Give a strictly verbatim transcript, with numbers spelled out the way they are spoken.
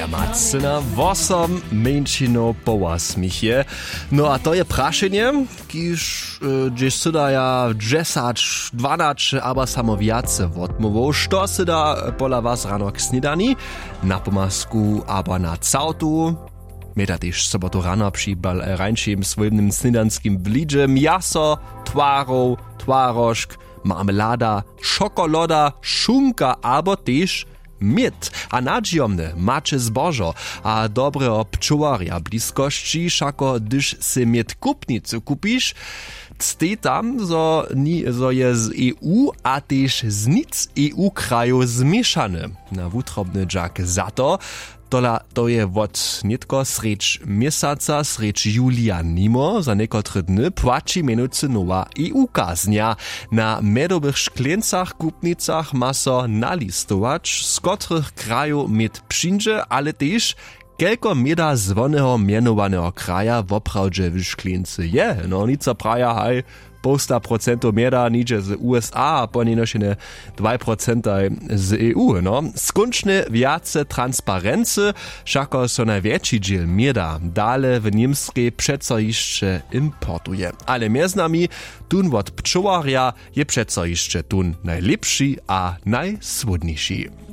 Ja mac na wosom mjeńšinow połasmich je. No a to je prašenje, kiž hdźež sydaja dźesać dwanaće abo samo wjace wotmołwow, što syda pola was rano k snědani, na pomasku abo na całtu? Měda tež sobotu rano při rańšim swójbnym snědanskim blidźe mjaso, twarow, twarožk, marmelada, šokoloda, šunka abo tež měd. A nadźijomne maće zbožo a dobreho pčołarja w bliskosći, wšako hdyž sej měd w kupnicy kupiš, stej tam zo je z eu a tež z nic eu krajow změšany. Na wutrobny dźak za to, tola to je wot nětko srjedź měsaca srjedź julija nimo za někotre dny płaći mjenujcy nowa eu kaznja. Na mjedowych škleńcach w kupnicach ma so nalistować z kotrych krajow měd přińdźe, ale tež kelko měda zwoneho mjenowaneho kraja woprawdźe w škleńcy je. No nico praja haj, połsta procentow mjeda nihdźe z usa a ponjenož jene dwaj procentaj z eu. No skónčnje wjace transparency, wšako so najwjetši dźěl mjeda dale w němskej přeco hišće importuje, ale mjez nami, tón wot pčołarja je přeco hišće tón najlěpši a najsłódniši.